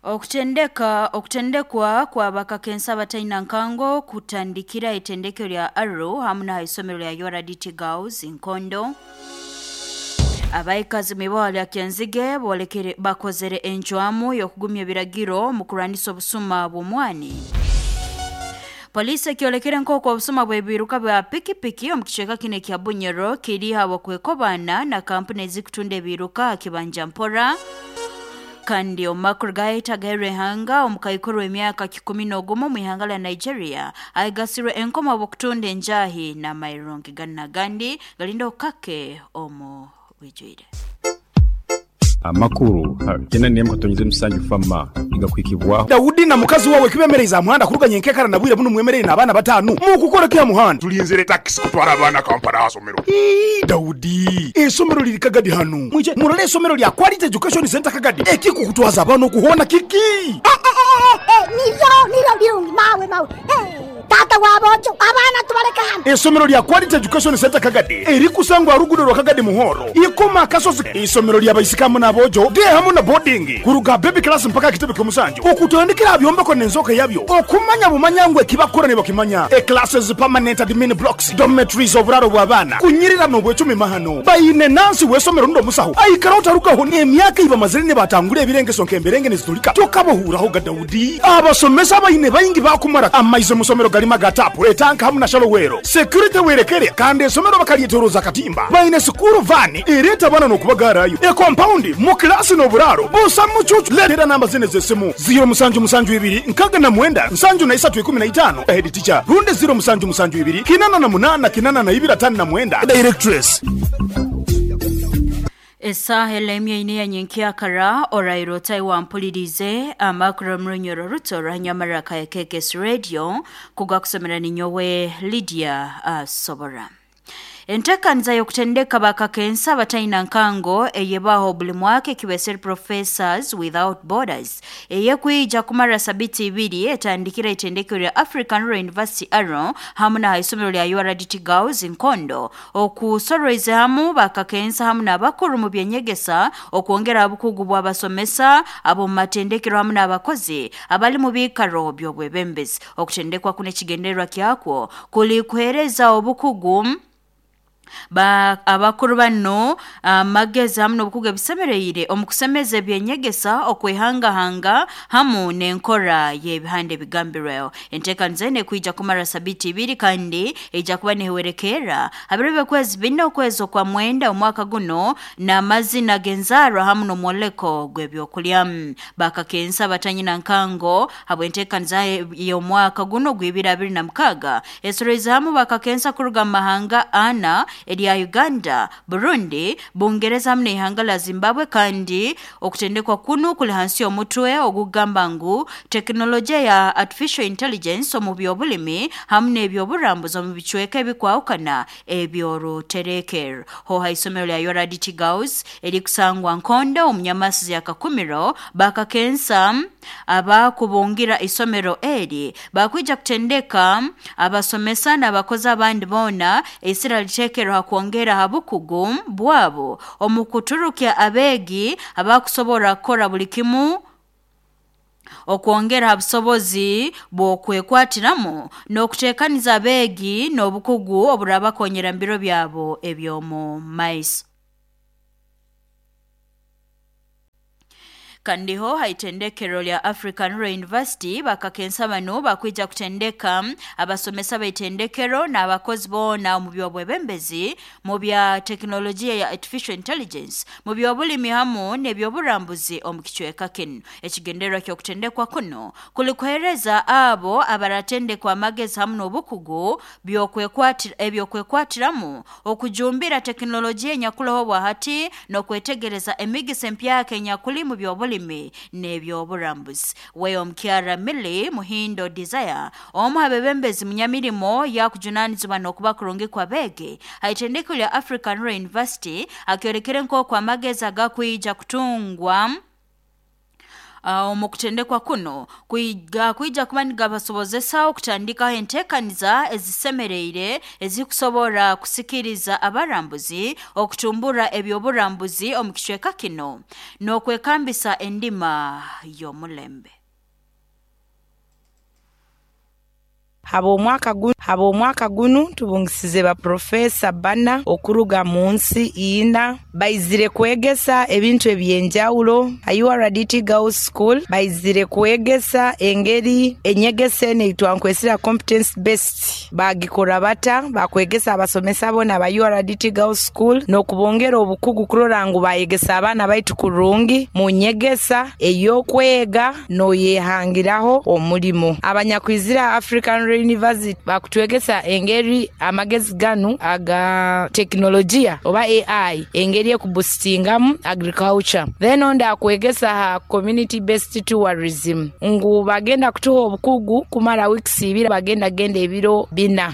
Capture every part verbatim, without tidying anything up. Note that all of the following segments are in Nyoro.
Okutendeka okutendekwa kwa bakakensa abataina nkango kutandikira itendekero lya Arrow hamu na isomero lya U R D T Girls Nkondo. Abaikazi miboha lya Kyenzige bolekere bakozere enchwamu y'okugumya ebiragiro mu kurwanisa obusuma bw'omwani. Polisi ekyolekere nk'oku obusuma bw'ebiruka bya pikipiki omu kicweka kino ekya Bunyoro kiri habwokwekobana na kampuni ezikutunda ebiruka kibanja mpora. Kandi omu makuru gaita gairehanga omukaikuru w'emyaka kikumi n'ogumu mu ihanga lya Nigeria aigasirwe enkoma bw'okutunda enjahi n'amairungi gana gandi galinda okukake omu bwijwire. Amakuru kena niyemu katonyeze musanju fama igakwikibwaho. Daudi na mukazi wawe kibemereza muhanda kuruganya enkekara na bwire buno mwemerere n'abaana batanu mukukora kya muhanda tulinzire taxi kutwara abaana Kampala asomero. Ii, Daudi esomero liri Kagadi hano mwije murole esomero lya Quality Education Center Kagadi ekikukutwaza abana okuhona kiki. Eh, eh, eh, eh, niyo niyo birungi mawe mawe. Eh, tata wabojo abana tubareka hano. Esomero lya Quality Education Center Kagadi erikusangwa rugudo rwa Kagadi Muhoro ikoma kasozi. Isomero lya baisikamu n'abojo de hamu na boarding kuruga baby class mpaka kitebe kyomusanju okutandikira byombeko n'enzoka yabyo okumanya bumanyangwe kibakora ne bakimanya. E classes permanent admin blocks dormitories oburaro bw'abaana kunyirira n'obwecumi mahano bayine nansi wesomero ndo musaho aikara utarukaho n'emyaka iba mazire ne batangura ebirengeso nk'emberenge nezitulika tokabohuraho ga Daudi. Abasomesa bayine bayingi bakumara amaize musomero galima gatapu etanka hamu na shalowero security werekere kandi esomero bakalyetoroza katimba bayine sukuru vani ereta bana n'okubagarayo e compound mu klasi n'oburaro busa mucucu. Letera namba zine z'essimu zero musanju musanju ibiri nkaga na mwenda nsanju na isatu ikumi na itano head teacher runde zero musanju musanju ibiri kinana na munana kinana na ibiri atano na mwenda directress. Esaha elemye ine ya nyenkiakara orairo taiwa mpulirize amakuru mrunyoro ruto ranyamaraka ya K K S Radio kugakusomera ninyowe Lydia uh, Sobora. Entekanza y'okutendeka bakakensa abataina nkango eyebaho buli mwaka ekibeseri Professors Without Borders eyekwija kumara sabiti ibiri etandikira itendekero lya African Rural University Arrow hamu na isomero lya U R D T Girls Nkondo okusoroize hamu bakakensa hamu n'abakuru mu byenyegesa okwongera obukugu bw'abasomesa abo mu matendekero hamu n'abakozi abali mu biikaro by'obwebembezi. Okutendekwa kuno ekigendererwa kyakwo kuli kuhereza obukugu ba abakuru bano amagezi hamu n'obukugu ebisemereire omu kusemeza ebyenyegesa okwehangahanga hamu n'enkora y'ebihande ebigambirweho. Enteekaniza eno ekwija kumara sabiti ibiri kandi ejja kuba nehewerekera habiro by'okwezi bina okwezi okwa mwenda omwaka guno n'amazina g'enzaarwa hamu n'omwoleko gw'ebyokulya. Bakakensa abatanyina nkango habw'enteekaniza y'omwaka guno gw'ibiri abiri na mukaaga esoroize hamu bakakensa kuruga mu mahanga ana erya Uganda, Burundi, Bungereza hamu n'ihanga la Zimbabwe kandi okutendekwa kuno kuli hansi y'omutwe ogugamba ngu tekinologiya ya artificial intelligence omu by'obulimi hamu n'ebyoburambuzi omu bicweka ebikwahukana ebyoruterekero. Ho ha isomero lya U R D T Girls erikusangwa Nkondo omu Nyamasizi ya Kakumiro bakakensa abakubungira isomero eri bakwija kutendeka abasomesa n'abakozi abandi boona esira litekero hakwongera habukugu bwabo omu kuturukya abeegi abakusobora kukora buli kimu okwongera habusobozi bw'okwekwatiramu n'okuteekaniza abeegi n'obukugu oburabakonyera mu biro byabo eby'omu maiso. Kandiho haitendekero lya African Rural University bakakensa bano bakwija kutendeka abasomesa baitendekero n'abakozi boona omu by'obwebembezi mu bya tekinologiya ya artificial intelligence mu by'obulimi hamu n'ebyoburambuzi omu kicweka kino. Ekigendererwa ky'okutendekwa kuno kuli kuhereza abo abaratendekwa amagezi hamu n'obukugu eby'okwekwatiramu okujumbira tekinologiya enyakuloho bwahati n'okwetegereza emigisa empyaka enyakuli mu by'obulimi n'ebyoburambuzi. Weyo omukyara Milly Muhindo Desire omu abebembezi munyamirimo yakujunanizibwa n'okuba kurungi kw'abeegi haitendekero lya African Rural University akyolekere nk'oku amagezi agakwija kutungwa Omu kutendekwa kuno kuiga kuija kuba nigabasobozesa okutandikaho enteekaniza ezisemereire ezikusobora kusikiriza abarambuzi okutumbura ebyoburambuzi omu kicweka kino n'okwekambisa endima y'omulembe. Hab'omwaka guno hab'omwaka guno tubungisize ba profesa bana okuruga mu nsi ina baizire kwegesa ebintu ebyenjawulo. U R D T Girls School baizire kwegesa engeri enyegesa eno eitwankwesera competence based bagikora bata bakwegesa abasomesa bona ba U R D T Girls School n'okubongera obukugu kurora ngu bayegesa abaana baitu kurungi mu nyegesa ey'okwega n'oyehangiraho omulimo. Abanyakwizira African University bakutwegesa engeri amagezi ganu aga teknolojia oba A I engeri ekuboostingamu agriculture. Then onda akwegesa ha community based tourism ngu bagenda kutuha obukugu kumara weeks ibiri bagenda genda ebiro bina.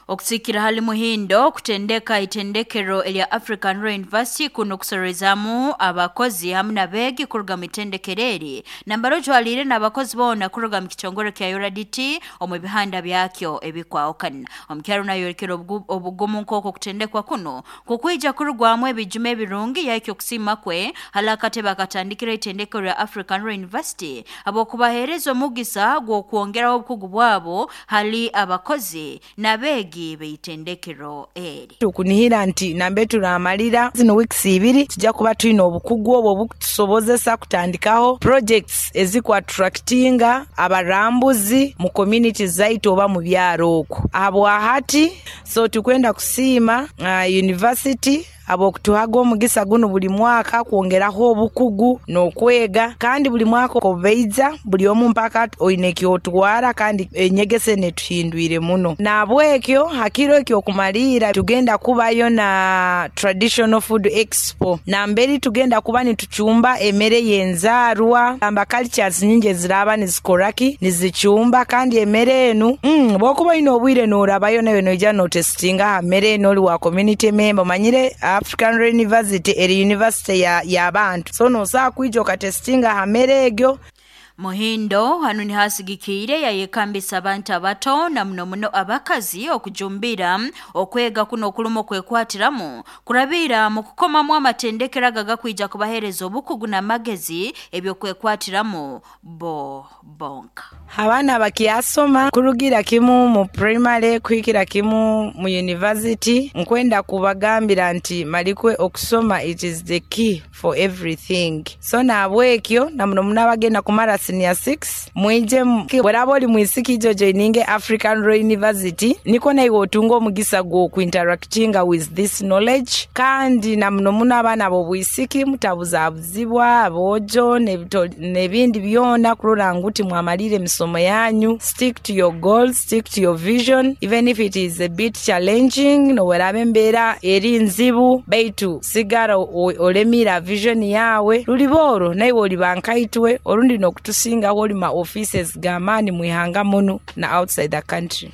Okusikira hali Muhindo kutendeka itendekero elya African Royal University kuno kusorezamu abakozi hamwe n'abeegi kuruga mu itendekero eri nambaro jwalire n'abakozi bona kuruga mu kitongore kya U R D T omu bihanda byakyo ebikwawukana. Omukyaro nayorekera obugumu nk'oko kutendekwa kuno kukwija kurugwamu ebijuma ebirungi yaikyo kusima kwe halakate bakatandikira itendekero lya African Royal University abokubahereza omugisa gw'okwongeraho obukugu bwabo hali abakozi n'abeegi beitendekero eri. Tukunihira nti nambe turamalira zino weeks ibiri tujja kuba tulina obukugu obwo obukutusobozesa kutandikaho projects ezikuattractinga abarambuzi mu community zaitu oba mu byaro okwo. Habwahati so tukwenda kusiima uh, university abokutuhaga omugisa guno buli mwaka kwongeraho obukugu n'okwega kandi buli mwaka obeiza buli omu mpaka oine kyotwara kandi enyegese netuhindwire muno. Nabwekyo hakiro ekyo okumalira tugenda kubayo na traditional food expo namberi tugenda kuba nituchumba emere yenzarwa amba cultures nyingi eziraba nizikoraki nizichumba kandi emere enu mm, bwokuba oine obwire norabayo nayo noija notestinga emere enu oli wa community member manyire African University eri university ya y'abantu so nosaa kwija okatestinga hamere egyo. Muhindo hanu ni hasigikire yayekambisa abantu abato na muno muno abakazi okujumbira okwega kuno okulumo kwekwatiramu kurabira mu kukomamu amatendekero agakwija kubahereza obukugu n'amagezi ebyokwekwatiramu bo bonka. Abaana bakyasoma kurugira kimu mu primary kuhikira kimu mu university nkwenda kubagambira nti malikwe okusoma it is the key for everything. So nabwekyo na muno muno abagenda kumara senior six mwije bweraba oli mwisiki ijo joininge African Royal University niko naiwe otunga omugisa gw'okuinteractinga with this knowledge kandi na muno muno abaana b'obwisiki mutabuzabuzibwa abojo n'ebindi byona kurora ngu mwamalire emisomo yanyu. Stick to your goals, stick to your vision even if it is a bit challenging noweraba embeera eri nzibu baitu sigara olemira vision yawe luliboro naiwe oliba nkaitwe orundi nokutusinga woli ma offices gamani mwihanga muno na outside the country.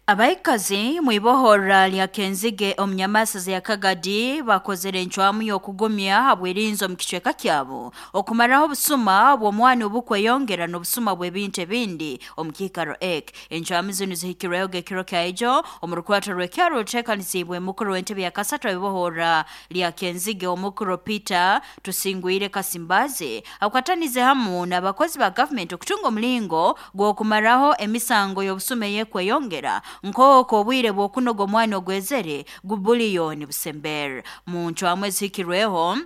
Abaikazi mwibohora lya Kenzige omunyamasaza ya Kagadi bakozere encwamu y'okugumya habwerinzo mu kicweka kyabo okumaraho obusuma bw'omwana obukweyongera n'obusuma bw'ebintu ebindi omu kiikaro ek. Encwamu zinu zihikirweho gekiro kya omu rukwato rw'ekyaro ruteekanisibwe mukuru w'entebe ya kasatu abibohora lya Kenzige omukuru Peter Tusingwire Kasimbazi akwatanize hamu n'abakozi ba gavumenti okutunga omulingo gw'okumaraho emisango y'obusuma eyekweyongera nk'oko obwire bw'okunoga omwana ogwezere gubuliyoni busembere. Mu ncwamu ezihikirweho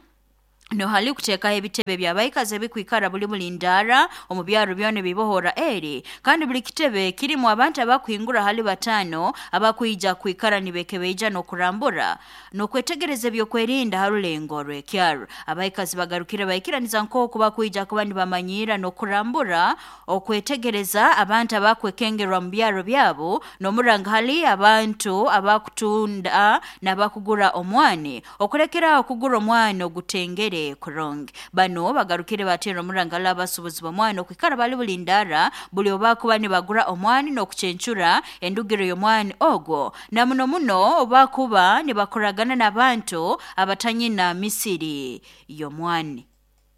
no hali kuteekaho ebitebe by'abaikazi ebikwikara buli buli ndara omu byaro byona ebibohora eri kandi buli kitebe kirimu abantu abakuhingura hali batano abakwija kwikara nibekebeija n'okurambura n'okwetegereza ebyokwerinda harulengo rw'ekyaro. Abaikazi bagarukire baikiraniza nk'oku bakwija kuba nibamanyira n'okurambura okwetegereza abantu abakwekengerwa mu byaro byabo n'omuranga hali abantu abakutunda n'abakugura omwani okulekera okugura omwani ogutengere kurungi. Bano bagarukire batera omurangala abasubuzi b'omwani okwikara bali buli ndara buli obakuba nibagura omwani n'okucencura endugiro y'omwani ogwo na muno muno obakuba nibakoragana n'abantu abatanyina misiri y'omwani.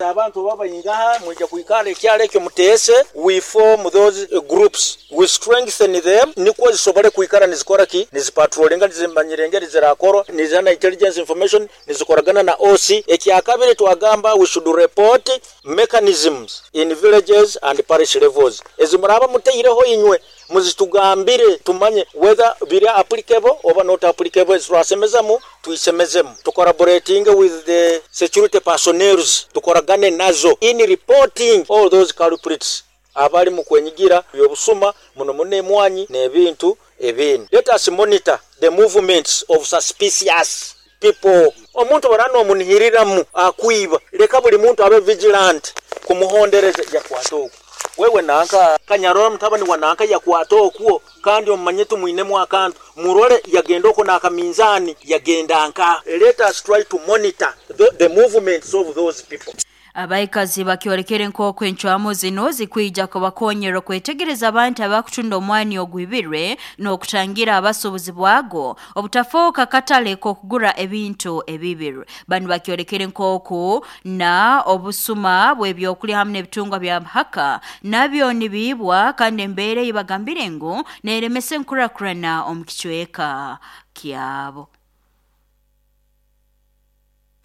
Abantu babayingaha mwija kuikala ekyalo ekyo muteese. We form those groups, we strengthen them, nikwo zisobole kuikara nizikora ki, nizipatrolinga, nizimanyira engeri zirakorwa, nizana intelligence information, nizikoragana na O C. Ekyakabiri twagamba we should report mechanisms in villages and parish levels. Ezimuraba muteireho inywe muzitugambire tumanye whether biri applicable or not applicable. Twasemezamu tuisemezemu, tucollaborating with the security personnel, tukoragane nazo in reporting all those culprits abali mu kwenyigira byobusuma muno muno emwanyi n'ebintu ebindi. Let us monitor the movements of suspicious people. Omuntu barano omunihiriramu akwiba, leka buli muntu abe vigilant kumuhondereza yakwata okwo. Wewe nanka kanyarora mutabani wa nanka yakwata okwo, kandi omanye tumwinemu akantu murole yagenda oko nakaminzani yagenda nka. Let us try to monitor the, the movements of those people. Abaikazi bakyorekere nk'oku encwamu zino zikwija kubakonyera okwetegereza abantu abakutunda omwani ogwibirwe n'okutangira abasuubuzi bwago obutafuuka katale k'okugura ebintu ebibirwe. Bano bakyorekere nk'oku na obusuma bw'ebyokulya hamwe n'ebitungwa bya haka nabyo nibiibwa, kandi embeera ei bagambire ngu neeremesa enkurakurana omu kicweka kyabo.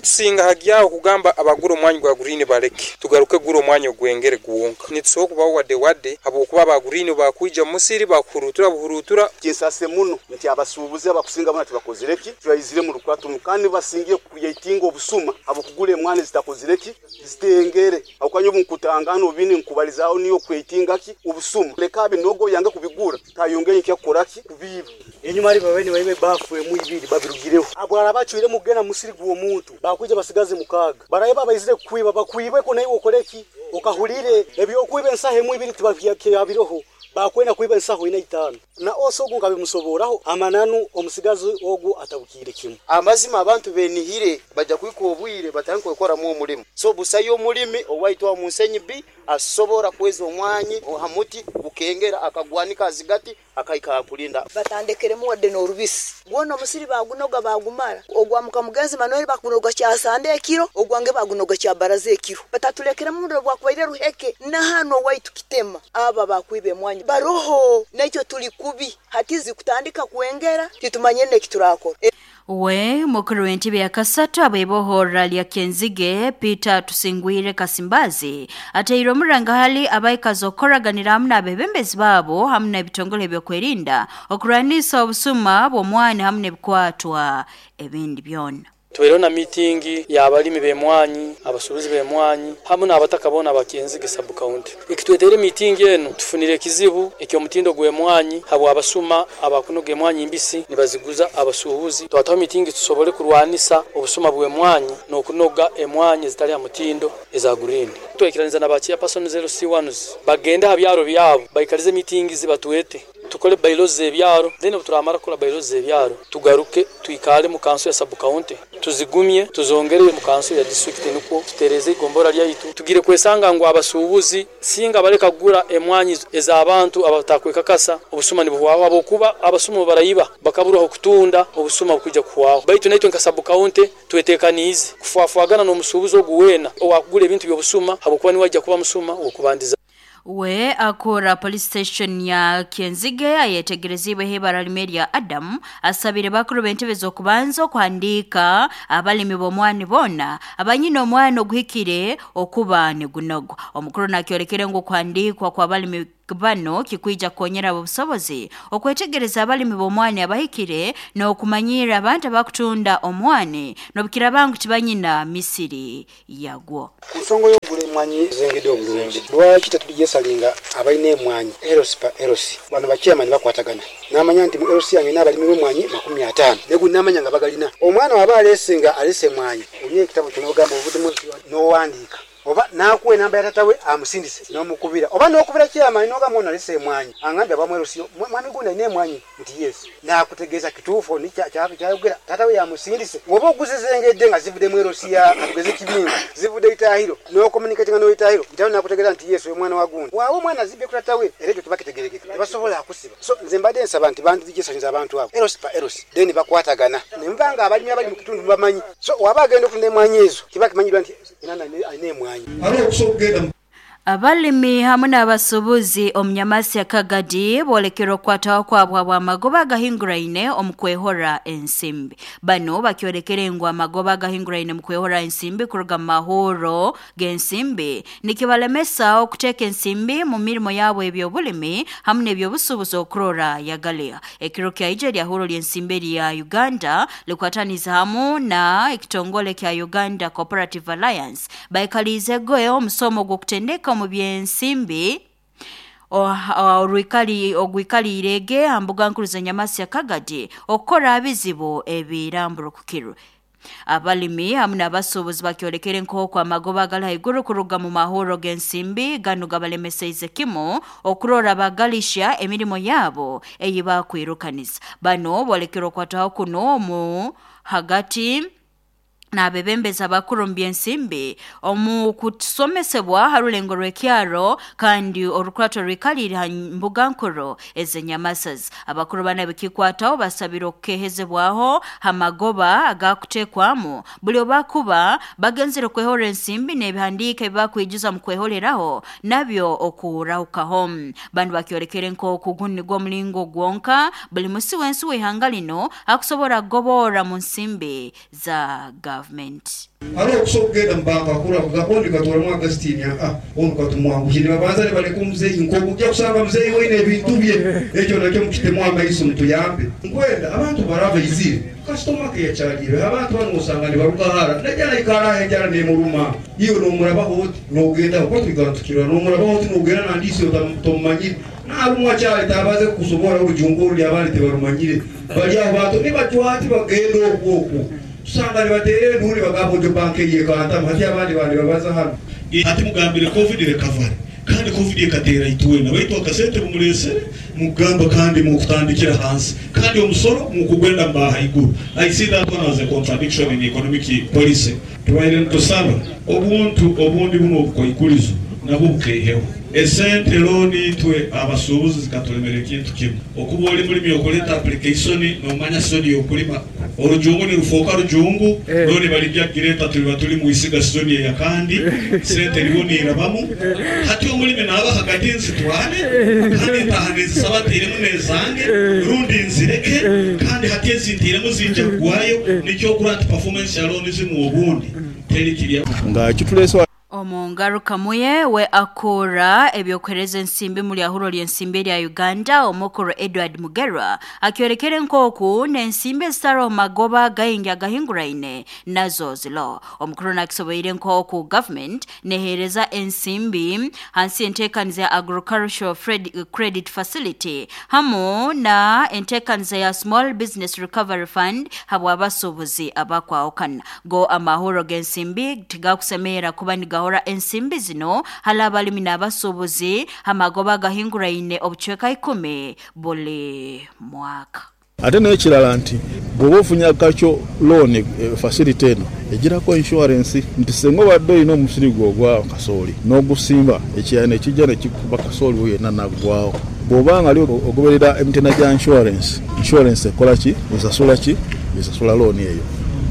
Tusinga hagyaho kugamba abagura omwanyi gwa green baleke tugaruke gura omwanyi ogwengere guwonka. Nitusobola kubaho wadde wadde habwokuba aba green bakwija musiri bakuhurutura buhurutura. Kinsase muno nti abasuubuzi abakusinga bona tibakozireki turayizire mu rukuratu kandi basingiye kucreatinga obusuma abokugura emwanyi zitakozireki zitengere akwanyo obunkutangano bini nkubalizaaho niyo creatinga ki obusuma leka binogo yange kubigura tayongeye nkyakoraki kubiba enyuma ari babene bayibe bafuwe mu ibiri babirugireho abwara bacwire mugena musiri guwo muntu bakwije basigaze mukaga baraye babayizire kwiba bakwibe ko nayo ukoreki ukahulire ebyo kwiba ensahe mu ibiri tibabyabiroho bakwenda kwiba ensaho ina itano na oso ogu ngabimusoboraho amananu omusigazi ogu atabukire kimwe. Amazima abantu benihire bajja kwika obwire batandika kukora mu omulimu so busayo omulimi owaitwa munsenyi bi asobora kweza omwanyi hamuti bukengera akagwanika azigati akaika kulinda batandekeremu wadde n'orubisi gwona omusiri bagunoga bagumara ogwa mukamugenzi Manuel bakunoga kya sande ekiro ogwange bagunoga kya baraza ekiro batatulekeremu mundo bwakubaire ruheke na hano waitu kitema aba bakwibe mwanyi baroho nakyo tuli kubi hatizi kutandika kuengera titumanye nekiturakora. We mukuru w'entebe ya kasatu abebohora lya Kenzige Peter Tusingwire Kasimbazi ateire omuranga hali abaikazi okoraganira hamwe n'abebembezi baabo hamwe n'ebitongole ebyokwerinda okurwanisa obusuma bw'omwani hamwe n'ebikwatwa ebindi byona. Tubereho na meeting y'abalimi b'emwanyi, abasuubuzi b'emwanyi hamwe n'abataka bona abakenzige sub county. Ekitwetere meeting eno tufunire ekizibu eky'omutindo gw'emwanyi habwa abasuma abakunoga emwanyi mbisi nibaziguza abasuubuzi. Twataho meeting tusobole kurwanisa obusuma bw'emwanyi n'okunoga emwanyi zitali mutindo eza green. Twekiraniza n'abachiya person zero C ones bagenda ha byaro byabo baikalize meeting zibatuete tukole bylaws z'ebyaro, then obuturamara kukola bylaws z'ebyaro tugaruke twikale mu kanso ya sub county tuzigumye tuzongere mu kanso ya district nuko tutereze igombora lyaitu tugire kwesanga ngo abasuubuzi singa bareka kugura emwanyi ez'abantu abatakwekakasa obusuma nibuhwaho abokuba abasuma barayiba bakaburaho kutunda obusuma bukujja kuhwaho. Baitu naitwe nka sub county twetekanize kufuafuagana n'omusuubuzi oguwena owakugura ebintu by'obusuma habokuba niwajja kuba musuma okubandiza. We akora police station ya Kenzige ayetegerezibwe hebara limeria Adam asabire bakuru b'entebe z'okubanza okuhandika abalimi b'omwani bona abanyina omwani oguhikire okuba nigunogo. Omukuru nakyorekere ngu okuhandikwa kw'abalimi bano kikwija kukonyera obusobozi okwetegereza abalimi b'omwani abahikire n'okumanyira abantu abakutunda omwani n'obukira bangu tibanyina misiri yagwo. Nsongo y'okugula emwanyi zengedde obulungi lwaki tetulijesalinga abalina emwanyi erosi pa erosi bano bachairman bakwatagana n'amanya nti mu erosi yange n'abalimi b'emwanyi makumi ataano negu n'amanya nga bagalina omwana waba aleese nga aleese emwanyi olina ekitabo ky'onogamba ovuddemu n'owandiika oba nakuwa enamba ya tata we amusindise n'omukubira oba n'okubira chairman n'ogamba ono alese emwanyi angambye abamwerosiyo mwami gundi alina emwanyi nti yes nakutegeeza kituufu ni kyayogera tata we yamusindise oba oguze zengedde nga zivudde mu erosi ya katugeze kibingo zivudde Itahiro n'okomunikatinga n'Itahiro Itahiro nakutegeeza nti yes oyo mwana wa gundi waawe omwana azibye ku tata we era ekyo tebakitegerekeka tebasobola akusiba. So nze mbadde nsaba nti bandigisanyiza abantu abo erosi pa erosi then bakwatagana ne muba nga abalimi abali mu kitundu mubamanyi so waba agenda okutunda emwanyi ezo kiba kimanyirwa nti enana alina emwanyi. emwanyi. Abalimi hamwe n'abasubuzi omunyamasi ya Kagadi bolekera okukwataho kwabwa bw'amagoba agahinguraine omu kwehora ensimbi. Bano bakyolekere ngu amagoba agahinguraine mu kwehora ensimbi kuruga mu mahuro g'ensimbi nikibalemesa okuteeka ensimbi mu mirimo yabo eby'obulimi hamwe n'ebyobusubuzi okurora yagaliya. Ekiro kya ija lyahuro ly'ensimbi lya Uganda likwataniza hamu na ekitongole kya Uganda Cooperative Alliance baikalize goe omusomo gw'okutendeka omu byensimbi orwikali ogwikalirege ambuga nkuru za Nyamasi ya Kagadi okukora abizibu ebiramburukukirwe. Abalimi hamwe n'abasuubuzi bakyolekere nk'oku amagoba agali haiguru kuruga mu mahuro g'ensimbi ganu gabalemeseize kimu okurora bagalisha emirimo yabo eyi bakwirukaniza. Bano bolekera okwataho kuno omu hagati n'abebembezi abakuru mu by'ensimbi omu kutusomesebwa harulengo rw'ekyaro kandi orukwato rwikalire ha mbuga nkuru ez'enyamasas. Abakuru bana bikikwataho basabira okukehezebwaho hamagoba agakutekwamu buli obakuba bagenzere kwehora ensimbi n'ebihandiika ebibakwijuza mu kwehoreraho nabyo okurahukaho. Bandu bakyolekere nk'oku guno nigwo omulingo gwonka buli musi w'ensi w'ihanga lino akusobora kugobora mu nsimbi za gavumenti. Hariho okusobola okugenda mu banka kura kugakondi katwaramu Augustine ah onu katumwanguhire babanza ne baleka omuzeeyi nk'okujja kusanga muzeeyi weine ebintu bye ekyo nakyo mukitemu amaiso mutuyambe nkwenda abantu barava izire kasitoma ke yakyalire abantu bano osanga nibaruka hara najja naikara enjara nemuruma iyo nomurabaho oti nogenda kuko tuigantukirwa nomurabaho oti nogenda nandisi otomumanyire narumwa kyali tabaze kusobora orujungu oruli abandi tebarumanyire bali aho bantu nibacwati bagenda okwo okwo tusanga nibatere nuri bagabo jo banke yekanta hati abandi bandi babaza hano ati mugambire covid recovery kandi covid ekatera itwena baitu akasente mumuresere mugamba kandi mukutandikira hansi kandi omusoro mukugwenda mbaha iguru. I see that one as a contradiction in economic policy. Tubaire ntusaba obuntu obundi buno obukoikulizo nabwo bukeheho esente loan itwe abasuubuzi zikatulemera ekintu kimu okuba oli mulimi okuleta application nomanya soni yokulima orujungu nirufoka rujungu loan balijja gireta tuliba tuli muisiga soni ya kandi sente ribonirabamu hati omulimi naba hagati nzitwale kandi ntahane zisabatiremu nezange rundi nzireke kandi hati ezintiremu zinja kugwayo nikyo grant performance ya loan zimu obundi teri kirya nga kituleswa. Omungaruka muye we akora ebyokuhereza ensimbi muri ahuro ly'ensimbi lya Uganda omukuru Edward Mugerwa akyorekere nkoku n'ensimbi ezitaro magoba gaingi agahinguraine nazo zilo. Omukuru nakisoboire nkoku government nehereza ensimbi hansi entekaniza ya agricultural credit facility hamu na entekaniza ya small business recovery fund habwa abasuubuzi abakwaokana go amahuro g'ensimbi tigakusemera kuba nigahora ensimbi zino hala abalimi n'abasuubuzi amagoba gahinguraine obucweka ikumi buli mwaka. Ate n'ekirala nti bw'oba ofunye akakyo loan facility eno egirako insurance nti singa obadde olina omusiri gwo ogwa kasooli n'ogusimba ekiyaya ne kijja ne kikuba kasooli we yenna naggwawo. Bw'oba nga ali ogoberera emitendera gya insurance, insurance ekola ki? Esasula ki? Esasula loan eyo.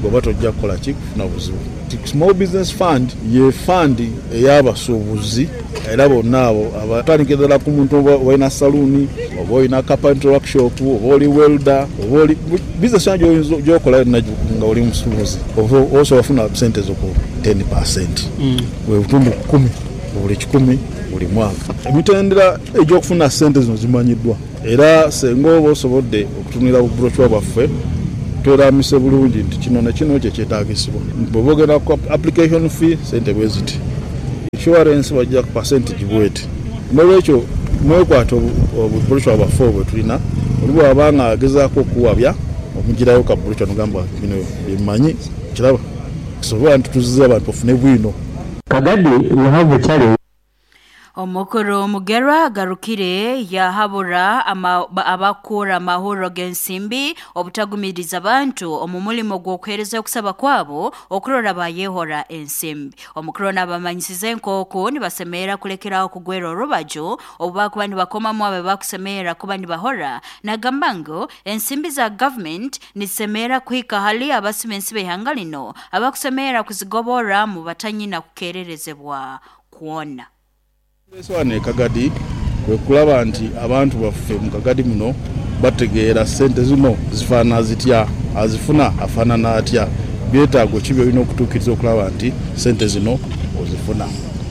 Bw'oba tojja kukola ki? Kufuna buzibu. Small Business Fund ye fund ey'abasuubuzi era bonna abo abatandikira ddala ku muntu oba olina saluuni oba olina carpentry workshop oba oli welder oba oli business yonna gy'okola yonna nga oli musuubuzi osobola ofuna sente zo ku ten percent bwe butundu kumi buli kikumi buli mwaka. Emitendera egy'okufuna sente zino zimanyiddwa era singa oba osobodde okutunulira bubrochure bwaffe tweramise bulungi nti kino ne kino kye kyetaagisibwa. Bw'oba ogenda ku application fee sente bwe ziti, insurance bajja ku percentage bweti. N'olwekyo mwekwata obubrochure bwaffe obwo tulina, oli bw'aba nga agezaako okuwabya omugirayo ka brochure n'ogamba bino bimmanyi kiraba kisobola nti tuzze abantu bafune bwino. Kagadi, we have a challenge. Omukuru Mugerwa agarukire yahabura abakura amahoro g'ensimbi obutagumiriza abantu omu mulimo gw'okuheereza okusaba kwabo okurora bayehora ensimbi. Omukuru n'abamanyisize nk'oku nibasemeera kulekeraho kugwera orubaju obu bakuba nibakomamu abe bakusemeera kuba nibahora, nagamba ngu ensimbi za government nisemeera kuhika hali abasima ensi b'ihanga lino abakusemeera kuzigobora mu batanyina kukererezebwa kwona. Eswane Kagadi kwe kulaba nti abantu baffe mu Kagadi muno bategeera sente zino zifaanana zitya, azifuna afaanana atya, byetaago ki byolina okutuukiriza okulaba nti sente zino ozifuna.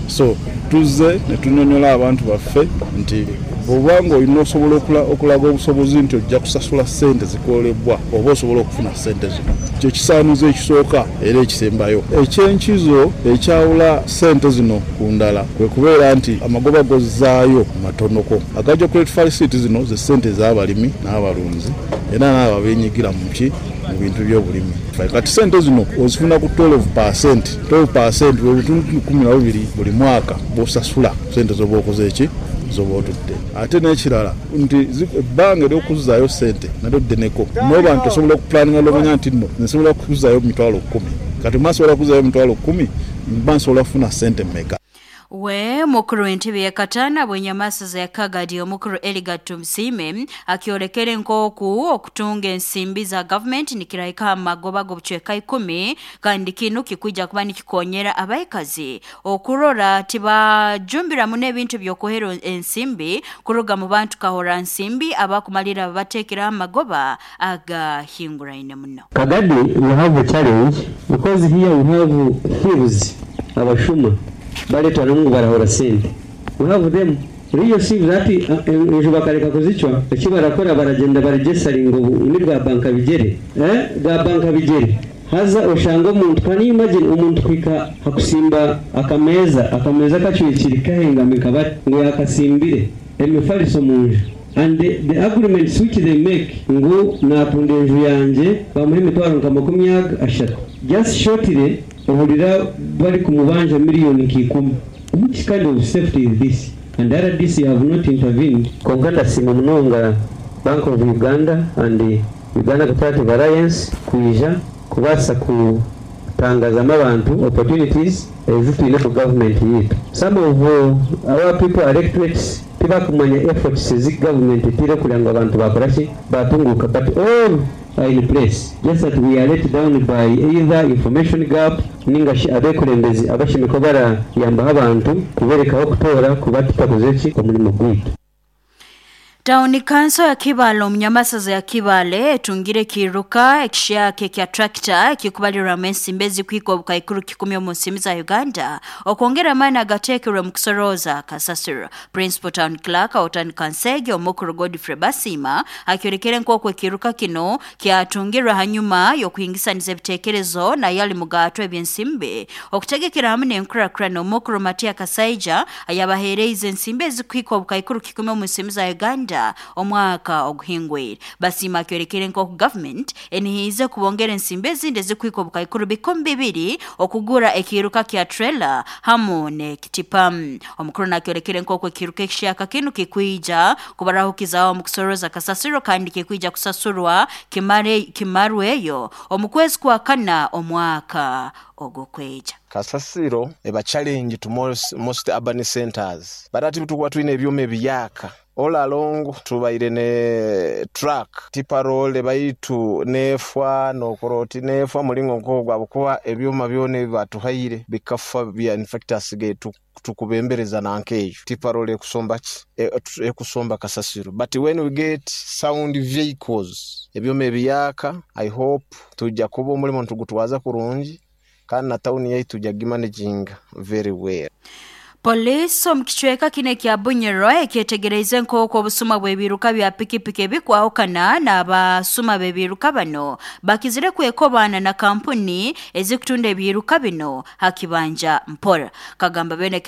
So tuzze ne tunyonnyola abantu baffe nti bw'oba ng'olina osobola okulaga obusobozi nti ojja kusasula sente zikolebwa oba osobola okufuna sente zino. Kye kisaanizo ekisooka era ekisembayo. Ekyenkizo ekyawula sente zino ku ndala kwe kubeera nti amagoba gozzaayo matonoko. Agajja credit facility zino ze sente ez'abalimi n'abalunzi era n'abo abeenyigira mu ki mu bintu by'obulimi. Kati sente zino ozifuna ku twelve percent, twelve percent bwe bitundu kumi na bubiri buli mwaka bw'osasula sente z'oba okoze eki z'oba otudde. Ate n'ekirala nti ebbanga ery'okuzzaayo sente nalyo ddeneko, n'oba nti osobola okupulaninga n'omanya nti nno nsobola okuzzaayo mitwalo kkumi, kati mba nsobola kuzzaayo mitwalo kkumi mba nsobola kufuna sente mmeka. We mukuru w'entebe ya kataana bw'enyamasaza ya Kagadi omukuru Eliga Tumsime akiolekere nk'oku okutunga ensimbi za gavumenti nikirahika amagoba g'obucweka ikumi kandi kinu kikuja kuba nikikonyera abaikazi okurora tibajumbiramu n'ebintu by'okuhera ensimbi kuruga mu bantu kahora nsimbi abakumalira babateekeraho amagoba agahinguraine muno. Kagadi we have a challenge because here we have thieves abashuma baletwa n'omungu barahora sente. We have them real see that enju bakareka kuzicwa eki barakora baragenda baregistaringa ni bwa banka bigere eh bwa banka bigere haza oshanga omuntu can you imagine omuntu kwika hakusimba akameza akameza kacwikiri kahengamika kabati ngo yakasimbire emifaliso munju and the, the agreements which they make ngo natunda enju yanje bamuhe emitwaro nka makumi ashatu just shortly ohulira bari kumubanja miliyoni nk'ikumi. Which kind of safety is this? And R D C have not intervened. Konka ndasiima munonga Bank of Uganda and the Uganda Cooperative Alliance kwija kubaasa kutangazamu abantu opportunities ezitwine ku government yitu. Some of our people electorates tibakumanya efforts ezi government etire kugira ngu abantu bakoraki batunguka, but all are in place just that we are let down by either information gap ninga shi abekulembezi abashimiko barayambaho abantu kuberekaho kutora kuba tutakoze ki omurimo gwitu. Town Council ya Kibale omunyamasaza ya Kibale etungire kiruka ekishaka kya tractor ekikubalirwa ensimbi ezikwika obukaikuru kikumi omu nsimbi za Uganda okwongera amaani agateekerwe mu kusoroza kasasiro. Principal Town Clerk Otan Kansege omukuru Godfrey Basima akyorekere nk'oku ekiruka kino kyatungirwa hanyuma y'okuhingisaniza ebiteekerezo naye ali mugaatwa ebyensimbi okutegekera hamwe n'enkurakurana. Omukuru Matia Kasaija ayabaheereize ensimbi ezikwika obukaikuru kikumi omu nsimbi za Uganda omwaka oguhingwire. Basima akyorekere nk'oku government enihiize kubongera ensimbi ezindi ezikwika obukaikuru bikumi bibiri okugura ekiruka kya trailer hamu n'ekitipa. Omukuru nakyorekere nk'oku ekiruka ekishaka kinu kikwija kubarahukizaho omu kusoroza kasasiro kandi kikwija kusasurwa kimare kimarweyo omu kwezi kwa kana omwaka ogukweja. Kasasiro eba challenge to most, most urban centers but ati tukuba twine ebyuma ebiyaka all along tubaire ne truck tiparole baitu nefwa nokoroti nefwa mulingo nkogwa bukuba ebyuma byone batuhaire bikafa bya infectors getu tukubembereza nankeyo tiparole kusomba ki e, kusomba kasasiro. But when we get sound vehicles ebyuma ebiyaka I hope tujja kuba omulimo ntugutwaza kurungi kandi na town yaitu tujja gimanaging very well. Polisi omu kicweka kine kya Bunyoro ekyetegereize nk'oku obusuma bw'ebiruka bya pikipiki ebikwahukana n'abasuma b'ebiruka bano bakizire kwekobana na kampuni ezikutunda ebiruka bino hakibanja mpora. Kagamba bene